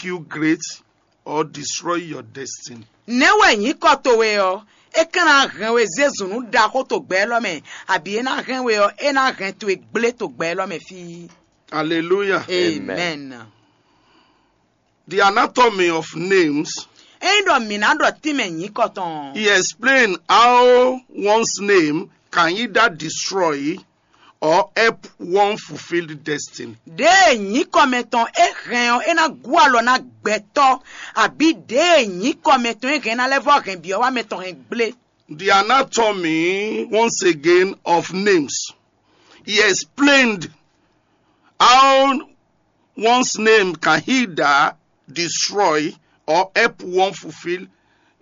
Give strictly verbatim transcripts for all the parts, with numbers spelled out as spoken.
you great or destroy your destiny. Nɛ̌ wɛ nyǐkɔ towe ɔ́, é ka ná hɛn we zé zǔn nú ɖaxó to gbɛ élɔ́ mɛ, abǐ é ná hɛn we ɔ́, é ná hɛn towe gblé to gbɛ élɔ́ mɛ fí? Hallelujah. Amen. The anatomy of names. Ényí ɖɔ mǐ ná ɖɔ tínmɛ nyǐkɔ tɔn. He explained how one's name can either destroy or help one fulfill destiny. Ɖěe nyǐkɔ mɛtɔn é hɛn ɔ́, é ná gú alɔ ná gbɛtɔ́, abǐ ɖěe nyǐkɔ mɛtɔn é hɛn ná lɛ́ vɔ́ hɛn byɔ̌ wá mɛtɔn hɛn gblé. The anatomy, once again, of names. He explained how one's name can either destroy or help one fulfill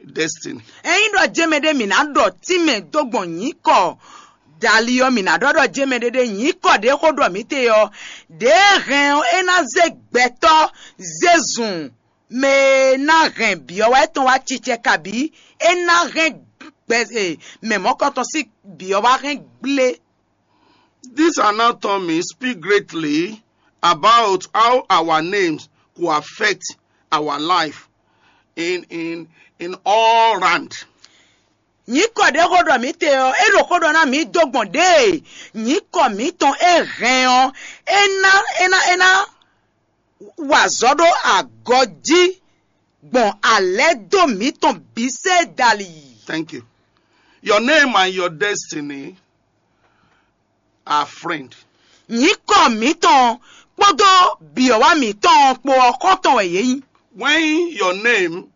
destiny. Ényí ɖɔ jɛ́n mɛ ɖé mǐ ná ɖɔ tínmɛ dó gbɔn nyǐkɔ dali ɔ́, mǐ ná ɖɔ ɖɔ jɛ́n mɛ ɖé ɖé nyǐkɔ ɖě xó ɖɔ mǐ te ɔ́, ɖěe hɛn ɔ́, é ná zé gbɛtɔ́ zé zun mɛ e ná hɛn byɔ̌ wá tɔn wá cicɛ kabǐ é ná hɛn gbɛ e mɛ mɔ̌kɔntɔn sín byɔ̌ wá hɛn gblé. This anatomy speak greatly about how our names could affect our life in in in all round. Nyǐkɔ ɖě xó ɖɔ mǐ te ɔ́, é ɖo xó ɖɔ ná mǐ dó gbɔn ɖěe nyǐkɔ mǐtɔn é hɛn ɔ́, é ná é ná é ná wa azɔ̌ ɖó agɔjí gbɔn alɛ̌ dó mǐtɔn bǐ sɛ́ dali. Thank you. Your name and your destiny are friend. Nyǐkɔ mǐtɔn kpódó byɔ̌wá mǐtɔn kpó ɔ́ xɔ́ntɔn wɛ yě nyí. When your name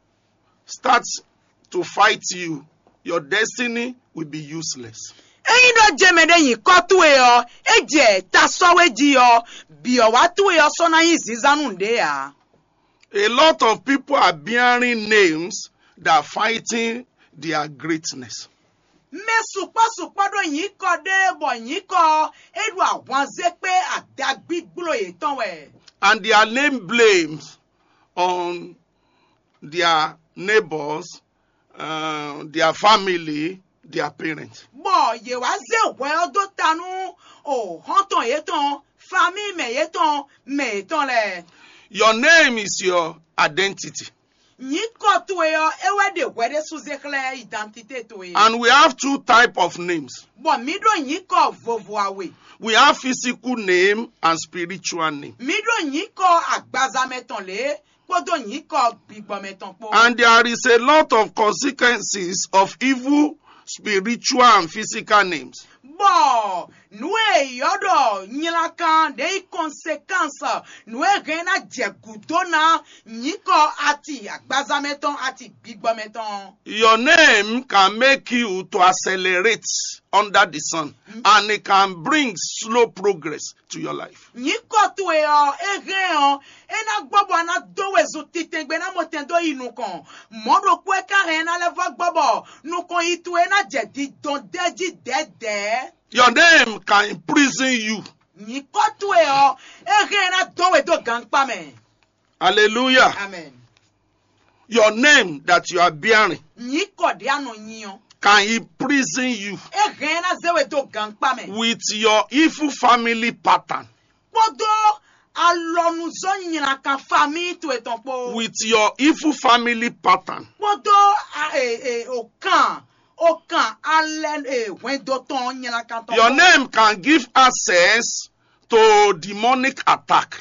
starts to fight you, your destiny will be useless. Ényí ɖɔ jɛmɛ ɖé nyǐkɔ towe ɔ́, é jɛ ta sɔ́ we jí ɔ́, byɔ̌wá towe ɔ́ sɔ́ ná nyí zínzán nú nǔɖé ǎ. A lot of people are bearing names that are fighting their greatness. Mɛ sukpɔ́ sukpɔ́ ɖó nyǐkɔ ɖé bɔ nyǐkɔ ɔ́ é ɖo ahwanzé kpé adagbígbló yětɔn wɛ. And their name blames on their neighbors, uh, their family, their parents. Bɔ yě wá zé hwɛ ɔ́ dó ta nú o xɔ́ntɔn yětɔn, famíi mɛ yětɔn, mɛ yětɔn lɛ́ɛ. Your name is your identity. Nyǐkɔ towe ɔ́, é wɛ ɖe hwɛ ɖésú zé xlɛ́ identité towe. And we have two type of names. Bɔ mǐ ɖó nyǐkɔ vovo awe. We have physical name and spiritual name. Mǐ ɖó nyǐkɔ agbaza mɛ tɔn lě kpódó nyǐkɔ gbigbɔ mɛ tɔn kpó. And there is a lot of consequences of evil spiritual and physical names. Bɔ nǔ e yɔ́ ɖɔ nylankan ɖě nyí conséquence, nǔ e hɛn ná jɛ gǔdo ná nyǐkɔ ati agbaza mɛ tɔn, ati gbigbɔ mɛ tɔn. Your name can make you to accelerate under the sun, and it can bring slow progress to your life. Nyǐkɔ towe ɔ́, é hɛn ɔ́, é ná gbɔ bɔ a ná dó wezun titɛngbe ná mɔ tɛn dó yi nukɔn. Mɔ̌ ɖokpó é ka hɛn ná lɛ́ vɔ́ gbɔ bɔ nukɔn yi towe ná jɛ didɔn dɛ́ jí dɛ̌dɛ̌. Your name can imprison you. Nyǐkɔ towe ɔ́, é hɛn ná dɔn we dó gankpá mɛ. Hallelujah. Amen. Your name that you are bearing Nyǐkɔ ɖě a nɔ nyi ɔ́, can imprison you é hɛn ná zé we dó gankpá mɛ. With your evil family pattern. Kpódó alɔnuzɔ́ nylankan famíi towe tɔn kpó. With your evil family pattern. Kpódó a- e- e- okàn okàn alɛ e- hwɛndo tɔn nylankan tɔn Your kpó. Name can give access to demonic attack.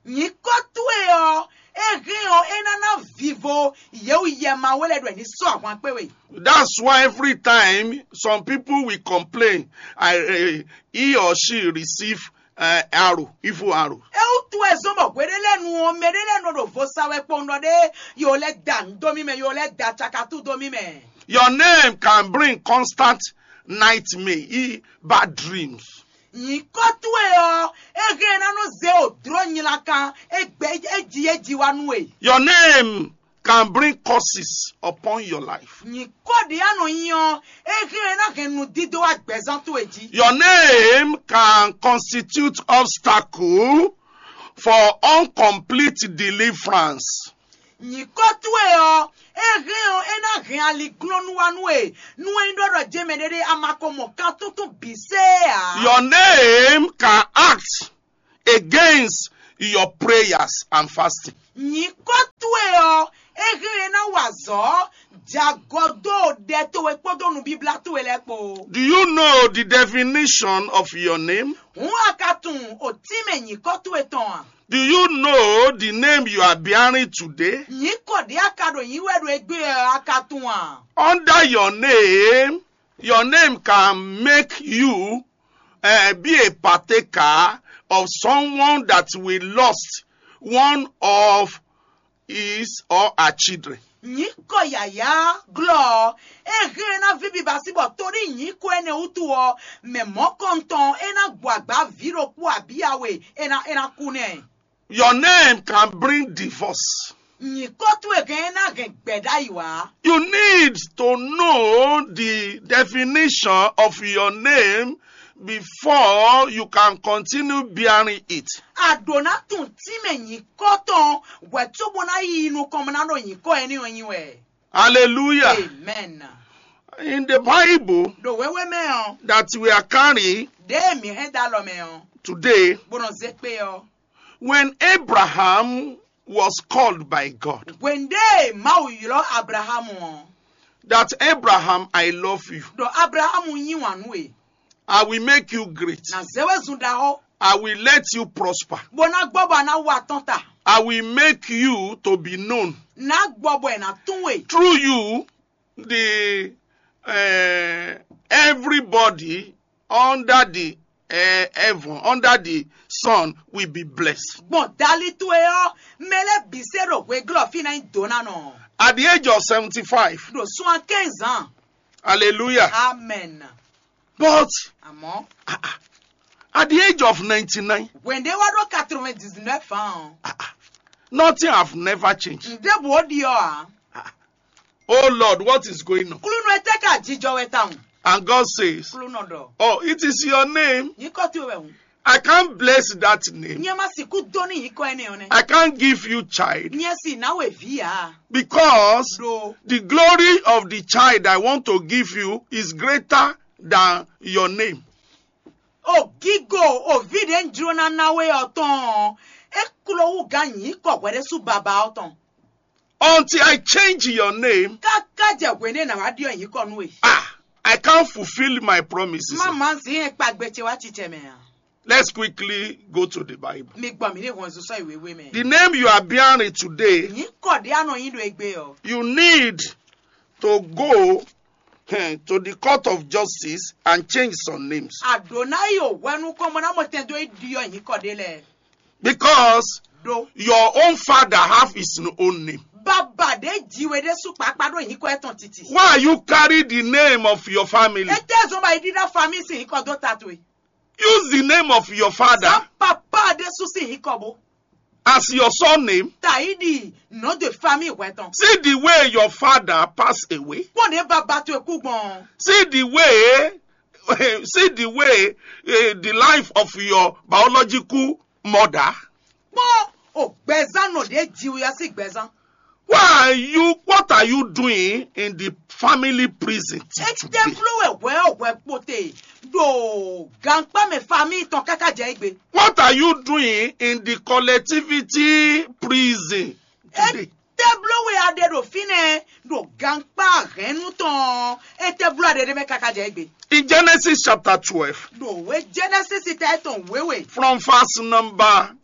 Nyǐkɔ towe ɔ́, é hɛn ɔ́, é ná ná vivo yěwuyɛma we lɛ́ɛ ɖɔ è ní sɔ́ ahwan kpé we. That's why every time some people will complain, I, eh, he or she receive uh, arrow, evil arrow. É wútu wɛ zɔ́n bɔ hweɖé lɛ́ɛ nu ɔ́, mɛ ɖé lɛ́ɛ nɔ ɖo vo sa wɛ kpowun ɖɔ ɖé, yo lɛ́ da nǔ dó mì mɛ, yo lɛ́ da cakatú dó mì mɛ. Your name can bring constant nightmare, e- bad dreams. Nyǐkɔ towe ɔ́, é hɛn ná nɔ zé o dló nylankan, é gbɛ é ji é ji wá nú we. Your name can bring curses upon your life. Nyǐkɔ ɖě a nɔ nyi ɔ́, é hɛn ná hɛn nǔdídó wá gbɛzán towe jí. Your name can constitute obstacle for incomplete deliverance. Nyǐkɔ towe ɔ́, é hɛn ɔ́, é ná hɛn aliglɔ́nú wá nú we, nú é nyí ɖɔ ɖɔ jɛmɛ ɖéɖé a ma ko mɔ kan tuntun bǐ sée ǎ. Your name can act against your prayers and fasting. Nyǐkɔ Dagɔ dó ɖɛ towe kpódó nubíblá towe lɛ́ɛ kpó. Do you know the definition of your name? Hǔn a ka tunwun òtínmɛ nyǐkɔ towe tɔn a? Do you know the name you are bearing today? Nyǐkɔ ɖě a ka ɖo nyǐ wɛ ɖo égbé ɔ́, a ka tunwun a? Under your name, your name can make you uh, be a partaker of someone that will lost one of his or her children. Nyǐkɔ yǎyá glɔ́ ɔ́, é hɛn ná ví biba sí bɔ tóní nyǐkɔ énɛ́ wútu ɔ́, mɛ mɔ̌kɔntɔn é ná gbɔ agbǎ vǐ ɖokpó abǐ awe é ná é ná kú nɛ́. Your name can bring divorce. Nyǐkɔ towe hɛn é ná hɛn gbɛ̌ ɖ'ayǐ wá. You need to know the definition of your name before you can continue bearing it. A ɖǒ ná tunwun tínmɛ nyǐkɔ tɔn hwɛ̌ cóbó ná yi nukɔn bó ná ɖo nyǐkɔ énɛ́ ɔ́ nyi wɛ. Hallelujah. Amen. In the Bible Ɖo wěwé mɛ ɔ́, that we are carrying ɖěe mǐ hɛn dó alɔ mɛ ɔ́, today, bó nɔ zé kpé ɔ́, when Abraham was called by God, hwenu ɖě Mawu ylɔ́ Ablaxámu ɔ́, that Abraham, I love you. Ɖɔ Ablaxámu yí wǎn nú we. I will make you great. Ná zé we zun ɖaxó. I will let you prosper. Bó ná gbɔ bɔ a ná wa tɔn ta. I will make you to be known. Ná gbɔ bɔ è nǎ tún we. Through you, the uh, everybody under the uh, heaven, under the sun will be blessed. Gbɔn dali towe ɔ́, mɛ lɛ́ɛ bǐ se ɖo hweglɔ́ fí ná nyí dǒ ná nɔ. At the age of seventy-five, Ɖo sun quinze ans. Hallelujah. Amen. But Àmọ́, at the age of ninety-nine, when they were quatre-vingt-dix-neuf ans, nothing have never changed. Ǹdébù ó di ọ́ à. Oh Lord, what is going on? Klúnú etɛ́ ka jijɔ wɛ tawun. And God says, Klúnú ɖɔ. Oh, it is your name. Nyǐkɔ towe wɛ hùn. I can't bless that name. Nyɛ ma sixú dó ní nyǐkɔ énɛ́ ɔ́ nɛ́. I can't give you child. Nyɛ sì ná wɛ vǐ ǎ. Because Ɖo the glory of the child I want to give you is greater than your name. O gígo o vǐ ɖě un jló ná ná we ɔ́ tɔn ɔ́, é kló wú gán nyǐkɔ hwɛɖésú baba ɔ́ tɔn. Until I change your name, Káká jɛ hwě nɛ́ ná wá ɖyɔ́ nyǐkɔ nú we. Ah, I can't fulfill my promises. Má má zǐn e kpagbe ce wá cicɛ mɛ ǎ. Let's quickly go to the Bible. Mi gbɔn mǐ ní hɔn zun sɔ́ yi wěwé mɛ. The name you are bearing today, Nyǐkɔ ɖé a nɔ nyí ɖo égbé ɔ́. You need to go eh, to the court of justice and change some names. Àdó ná yi o hwɛ nukɔn mɔ ná mɔ tɛn dó yi ɖyɔ nyǐkɔ ɖé lɛ́ɛ. Because Ɖó your own father have his own name. Bàbá ɖé jí we ɖésú kpákpá ɖó nyǐkɔ ɛtɔn títí. Why you carry the name of your family? Étɛ́ zɔn bá yi ɖíɖá famille sín nyǐkɔ dó ta towe. Use the name of your father Sá papa ɖésú sín nyǐkɔ bó. As your surname. Taidi nom de famille hwɛ tɔn. See the way your father passed away. Kpɔn ɖe baba towe kú gbɔn. See the way, see the way uh, the life of your biological mother. Kpɔn o gbɛzán nɔ ɖe jiwuya sí gbɛzán. Why are you, what are you doing in the family prison till today? Etɛ́bló wɛ hwɛ ɔ́ hwɛ kpote ɖo gankpá mɛ famille tɔn káká jɛ égbé. What are you doing in the collectivity prison today? Etɛ́bló wɛ a ɖe ɖo fínɛ́ ɖo gankpá hɛ̌nnu tɔn etɛ́bló a ɖe ɖé mɛ káká jɛ égbé. In Genesis chapter twelve, Ɖo wé Genesis ta etɔn wéwe. From verse number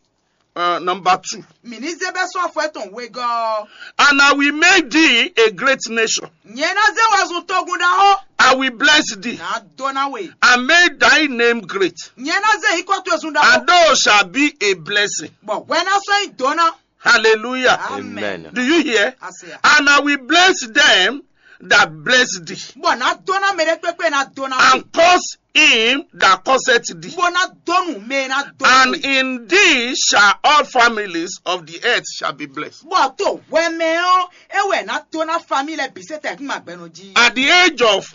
uh, number two. Mǐ ní zé bɛ́ sɔ́ afɔ etɔn wegɔ́. And I will make thee a great nation. Nyɛ ná zé wɛ zun togun ɖaxó. I will bless thee Ná dó ná we. And make thy name great. Nyɛ ná zé yíkɔ towe zun ɖaxó. And thou shalt be a blessing. Bɔ hwɛ ná sɔ́ nyí dó ná. Hallelujah. Amen. Do you hear? Ase ya. And I will bless them that bless thee. Bɔ ná dó ná mɛ ɖé kpékpé ná dó ná we. And curse him that curseth thee. Bó ná dó nú mɛ ná dó. And in thee shall all families of the earth shall be blessed. Bɔ to hwɛ mɛ ɔ́ é wɛ ná dó ná famille lɛ bǐ sɛ́ tɛ́ kún ma gbɛnɔ jí. At the age of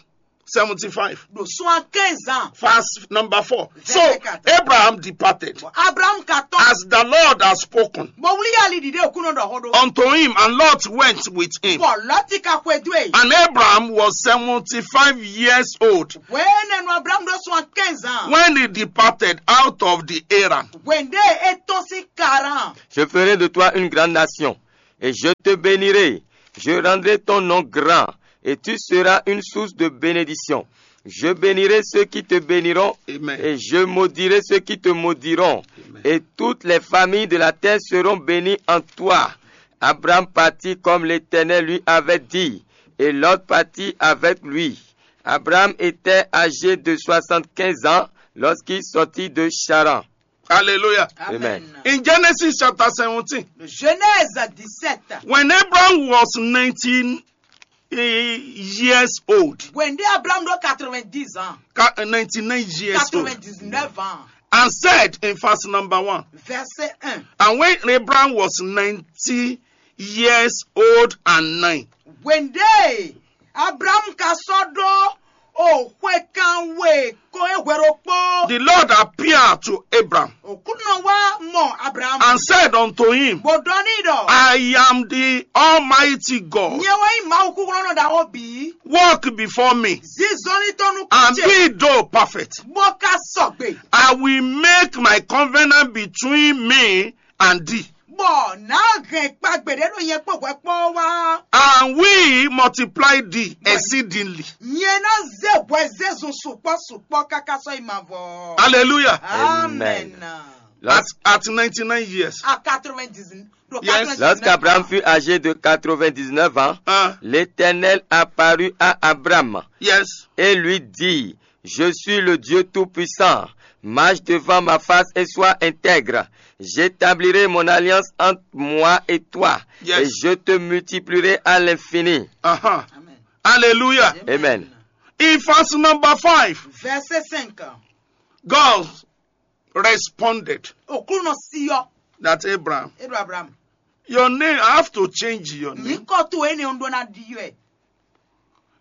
seventy-five, Ɖo soixante-quinze ans. Verse number four. So Abraham departed Abraham ka tɔn. As the Lord has spoken Bɔ wuli yali ɖiɖe òkúnɔ ɖɔ xó ɖó. Unto him, and Lot went with him. Bɔ Lɔti ka xwe dó e. And Abraham was seventy-five years old Wɛɛ nɛnu Abraham ɖo soixante-quinze ans. When he departed out of the Haran. Wende e tɔn si Karan. Je ferai de toi une grande nation, et je te bénirai. Je rendrai ton nom grand, et tu seras une source de bénédiction. Je bénirai ceux qui te béniront, Amen. Et je maudirai ceux qui te maudiront. Amen. Et toutes les familles de la terre seront bénies en toi. Abraham partit comme l'Éternel lui avait dit, et Lot partit avec lui. Abraham était âgé de soixante-quinze ans lorsqu'il sortit de Charan. Hallelujah. Amen. In Genesis chapter seventeen, Genèse dix-sept. When Abraham was nineteen years old, Wende Abraham ɖo quatre-vingt-dix ans. ca- ninety-nine years old, quatre-vingt-dix-neuf ans. And said in verse number one, Verset un. And when Abraham was ninety years old and nine, Wende Abraham ka sɔ́ ɖó o xwe kan we kɔn e hwe ɖokpó. The Lord appeared to Abraham Òkúnɔ wá mɔ Abraham. And said unto him, Bó ɖɔ n'i ɖɔ. I am the Almighty God. Nyɛ wɛ nyí Mawu kúkúrɔ́nɔ ɖaxó bǐ. Walk before me Zizɔnlítɔ́ nú and kúce. Be thou perfect. Bó ka sɔgbe. I will make my covenant between me and thee. Bɔ nǎ hɛn kpagbe ɖé ɖo nyɛ kpó hwɛ kpó wá. And will multiply thee exceedingly. Nyɛ ná zé hwɛ zezun sukpɔ́ sukpɔ́ káká sɔ́ yi mavɔ. Hallelujah. Amen. At, at ninety-nine years. À quatre-vingt-dix, ɖo Yes. quatre-vingt-dix-neuf Lorsqu'Abraham ans. Fut âgé de quatre-vingt-dix-neuf ans, Hein? l'Éternel apparut à Abraham Yes. et lui dit, Je suis le Dieu Tout-Puissant, marche devant ma face et sois intègre. J'établirai mon alliance entre moi et toi, Yes. et je te multiplierai à l'infini. Uh-huh. Amen. Hallelujah. Amen. In verse number five, Verset cinq. God responded Òkúnɔ siyɔ. That Abraham, Eɖo Abraham. Your name, I have to change your Nyí name. Kɔ to ene ŋu ɖó ná ɖi yɔ ɛ.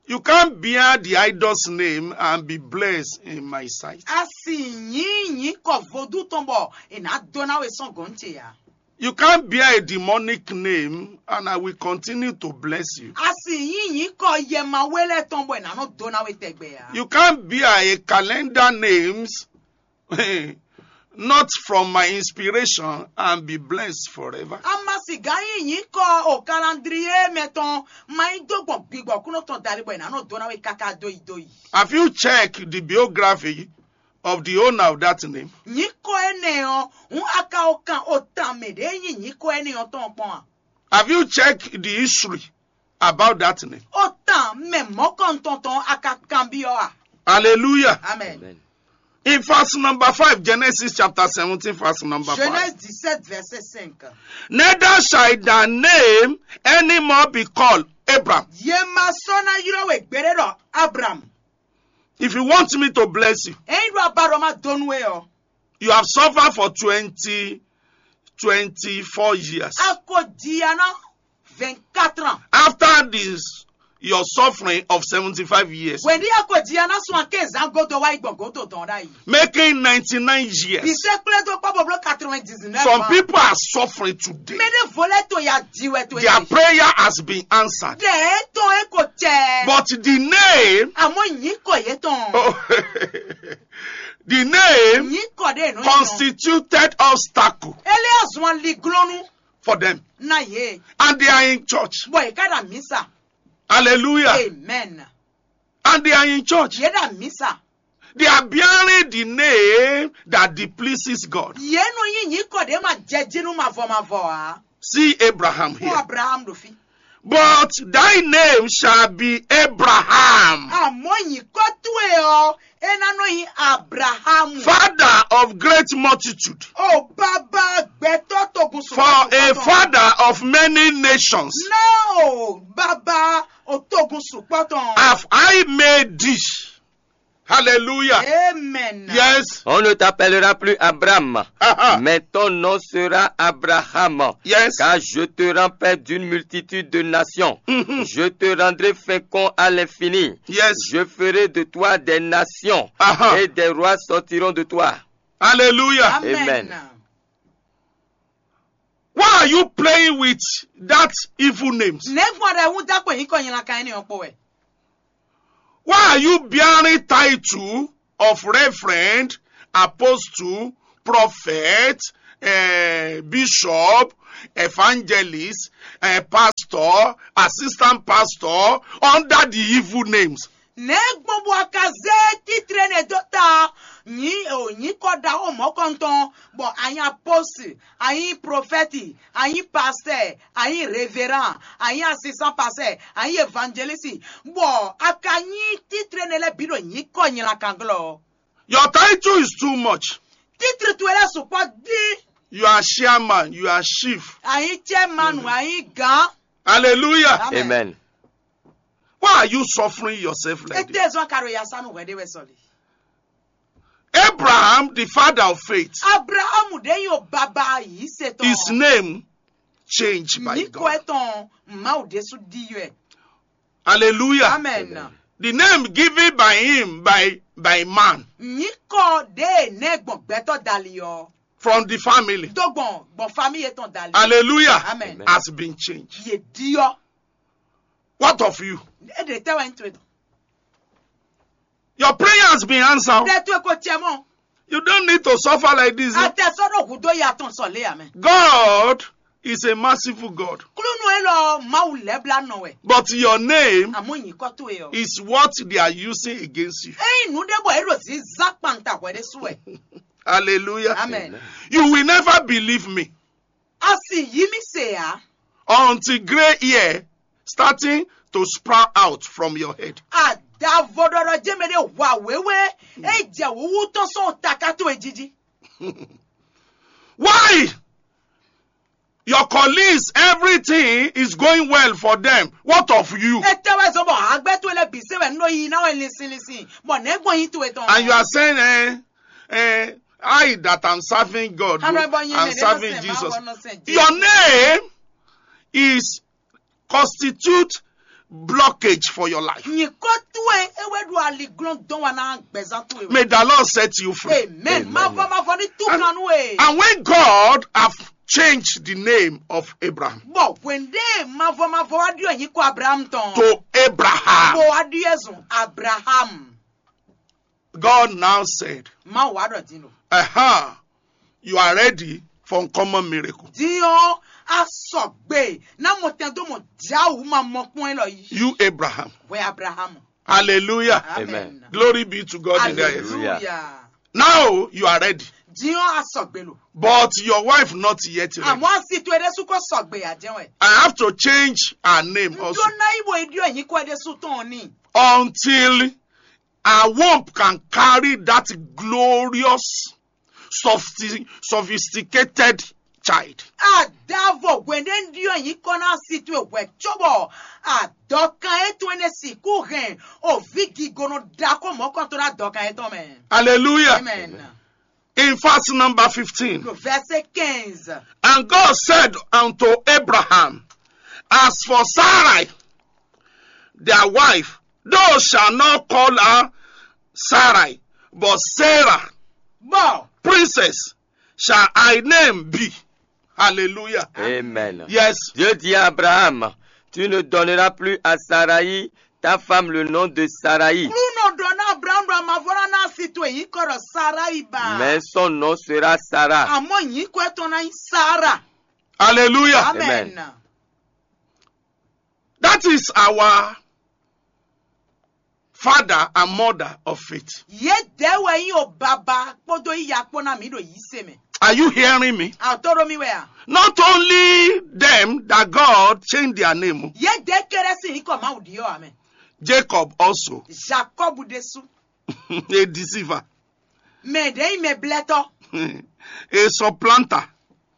You can't bear the idol's name and be blessed in my sight. A sì nyí nyí kɔ vodú tɔn bɔ è nǎ dó ná we sɔ́ gɔ̌n ce ya. You can't bear a demonic name and I will continue to bless you. A sì nyí nyí kɔ yɛ ma we lɛ tɔn bɔ è nǎ nɔ dó ná we tɛgbɛ ya. You can't bear a calendar names not from my inspiration and be blessed forever. A ma sì gán nyí nyí kɔ o kalandriye mɛ tɔn ma nyí dó gbɔn gbigbɔ kúnɔ tɔn dali bɔ è nǎ nɔ dó ná we káká dó yi dó yi. Have you checked the biography of the owner of that name? Nyí kɔ énɛ́ ɔ́, hǔn a ka o kan o tan mɛ ɖě nyí nyí kɔ énɛ́ ɔ́ tɔn kpɔ́n a? Have you checked the history about that name? O tan mɛ mɔ̌kɔntɔn tɔn a ka kanbyɔ́ a? Hallelujah. Amen. Amen. In verse number five, Genesis chapter seventeen, verse number five. Genèse dix-sept, verset cinq. Neither shall thy name anymore be called Abram. Yě ma sɔ́ ná ylɔ́ we gbeɖé ɖɔ Abraham. If you want me to bless you, Ényí ɖo abaɖɔ ma dó nú we ɔ́, you have suffered for twenty, twenty-four years. a ko jia ná vingt-quatre ans. After this, your suffering of seventy-five years, Wění a ko jia ná sun aké zán godo wá yi gbɔn godo dɔn ɖ'ayǐ. Making ninety-nine years. Bìsẹ́ kplé dó kpɔ́ bɔbló quatre-vingt-dix-neuf Some ans. People are suffering today. Mɛ ɖé vo lɛ to ya ji wɛ to Their prayer has been answered. Dɛ é tɔn é ko cɛ. But the name, Àmọ́ nyí kɔ yé tɔn. oh, the name Nyí kɔ ɖé nù. Constituted obstacle Eléa zɔn aliglɔnnu for them. Na yé. And they are in church. Bɔ yé ká ɖa mísa. Hallelujah. Amen. And they are in church. Yé ɖa mísa. They are bearing the name that displeases God. Yé nɔ yí nyí kɔ ɖé ma jɛ jínú mavɔ mavɔ a. See Abraham Kó here. Abraham ɖo fí. But thy name shall be Abraham, Àmọ́ nyí kɔ tú e ɔ, é ná nɔ yí Abrahamu. Father of great multitude. O bàbá gbɛtɔ togun sùn. For a father of many nations Ná o bàbá o togun sùn pɔtɔn. have I made thee. Hallelujah. Amen. Yes. On ne t'appellera plus Abraham, Uh-huh. mais ton nom sera Abraham, Yes. Car je te rends père d'une multitude de nations. Mhm. Je te rendrai fécond à l'infini. Yes. Je ferai de toi des nations, Uh-huh. Et des rois sortiront de toi. Hallelujah. Amen. Amen. Why are you playing with that evil names? Nɛgbɔn ɖe wú dákpɛ yín kɔ yín la ka ɛni ɔkpɔ wɛ. Why are you bearing title of reverend, apostle, prophet, eh, bishop, evangelist, eh, pastor? pastor, assistant pastor under the evil names. Nɛ̌ gbɔn bɔ a ka zé títré nɛ́ dó ta nyǐ o nyǐkɔ ɖaxó mɔ̌kɔntɔn, bɔ a nyí apóstli, a nyí profɛ́ti, a nyí pastɛ́, a nyí reverán, a nyí asisán pastɛ́, a nyí evanjelísi, bɔ a ka nyí títré nɛ́ lɛ́ɛ bǐ ɖo nyǐkɔ nylakanglo ɔ́? Your title is too much. Títré towe lɛ́ɛ sukpɔ́ dín. You are chairman, you are chief. A nyí cɛ́manu, a nyí gǎn. Hallelujah. Amen. Amen. Why are you suffering yourself like this? Étɛ́ zɔn ka ɖo yasanu hwɛ ɖé wɛ sɔli? Abraham, the father of faith, Abrahamu ɖe nyi o baba yise tɔn. His name changed by God. Nyiko etɔn Mawu ɖésú ɖi yɔɛ. Hallelujah. Amen. Amen. The name given by him by, by man. Nyiko ɖe nɛ gbɔn gbɛtɔ dali ɔ. From the family. Tó gbɔn gbɔn famille etɔn dali. Hallelujah. Amen. Amen. Has been changed. Ye diɔ. What of you? E de tɛ wɛ n to etɔn. Your prayer has been answered. Ɖe to eko cɛ mɔ. You don't need to suffer like this. Atɛ sɔ ɖo hudo ya tɔn sɔ le amɛ. God is a merciful God. Klúnú e lɔ Mawu lɛ́ bla nɔ wɛ. But your name Àmọ́ yìí kọ́ tó e ɔ. Is what they are using against you. Eyin nu ɖe bɔ e ɖo zi zan kpanta hwɛ ɖe su wɛ. Hallelujah. Amen. You will never believe me. A sì yí mì se ǎ. Until gray hair starting to sprout out from your head. Àdàvɔ ɖɔɖɔ jẹ́ mɛ ɖé hwa wěwé é jɛ wǔwú tɔn sɔn taká towe jíjí. Why? Your colleagues, everything is going well for them. What of you? Etɛ wɛ zɔn bɔ hagbɛ towe lɛ bǐ se wɛ nɔ yi ná wɛ linsin linsin bɔ nɛgbɔn yi towe tɔn. And you are saying, eh, eh, I that am serving God, I'm serving Jesus. Your name is constitute blockage for your life. Nyikɔ towe e wɛ ɖo aliglɔn dɔn wa na gbɛzan towe. May the Lord set you free. Amen. Mavɔ mavɔ ní tú kan nú e. And when God have changed the name of Abraham, bɔ hwende mavɔ mavɔ wa ɖiɔ nyikɔ Abraham tɔn to Abraham, bɔ wa ɖiɔ zun Abraham. God now said, Mawu wá ɖɔ din ɖo. Aha, you are ready for uncommon miracle. Din ɔ́, a sɔgbe ná mɔ tɛn dó mɔ Jǎwu ma mɔ kpɔ́n élɔ́ yí. You Abraham. Hwɛ Abrahamu. Hallelujah. Amen. Amen. Glory be to God in the highest. Hallelujah. Now you are ready. Din ɔ́, a sɔgbe lo. But your wife not yet ready. Àmọ́ a si to é ɖésú kó sɔgbe ǎ jẹ́ wɛ. I have to change her name also. N tó ná yí bo idiɔ yín kó é ɖésú tɔn ní. Until our womb can carry that glorious, sophisti- sophisticated child. Adavo hwende ndio yiko na si tu hwe chobo adɔkan eto ene siku hɛn ovi gigono dako mɔkɔntɔ na dɔkan etɔn mɛ. Hallelujah. Amen. In verse number fifteen. Le verset quinze. And God said unto Abraham, as for Sarai, their wife, thou shalt not call her Sarai, but Sarah. Bon. Princess shall thy name be. Hallelujah. Amen. Yes. Dieu dit à Abraham, tu ne donneras plus à Sarai, ta femme, le nom de Sarai. Klunɔ ɖɔ na Abraham ɖɔ amavɔra na si to yi kɔ ɖɔ Sarai ba. Mais son nom sera Sarah. Àmọ́ yìí kọ́ ẹ̀ tọ́ na yín Sara. Hallelujah. Amen. Amen. That is our father and mother of faith. Ye dɛ wɛ yi o baba kpodo iya kpo na mi ɖo yi se mɛ. Are you hearing me? A to ɖo mi wɛ a? Not only them that God changed their name. Ye dɛ kéré si yi kɔ Mawu di yɔ amɛ. Jacob also. Jacob ɖésú. A deceiver. Mɛ ɖe yi mɛ blɛtɔ. A supplanter.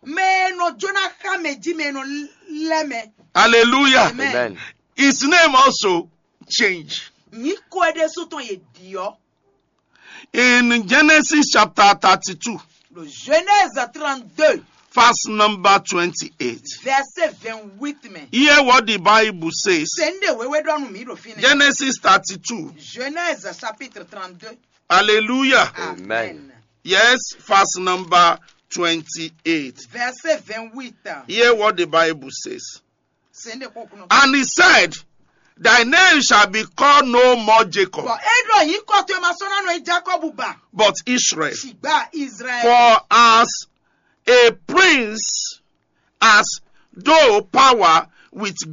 Mɛ nɔ jona xa mɛ ji mɛ nɔ lɛ mɛ. Hallelujah. Amen. Amen. His name also changed. Nyiko ɖésú tɔn ye diɔ. In Genesis chapter thirty-two, le Genèse trente-deux, verse number twenty-eight, verset vingt-huit mɛ. Hear what the Bible says. Sende wewe ɖɔ nu mi ɖo fi nɛ. Genesis thirty-two. Genèse chapitre trente-deux. Hallelujah. Amen. Amen. Yes, verse number twenty-eight. Verset vingt-huit. Hear what the Bible says. And he said, thy name shall be called no more Jacob. Bɔ e ɖɔ yín kɔ to e ma sɔ́ ná nɔ yí Jacob ba. But Israel. Ṣùgbọ́n Israel. For as a prince has no power with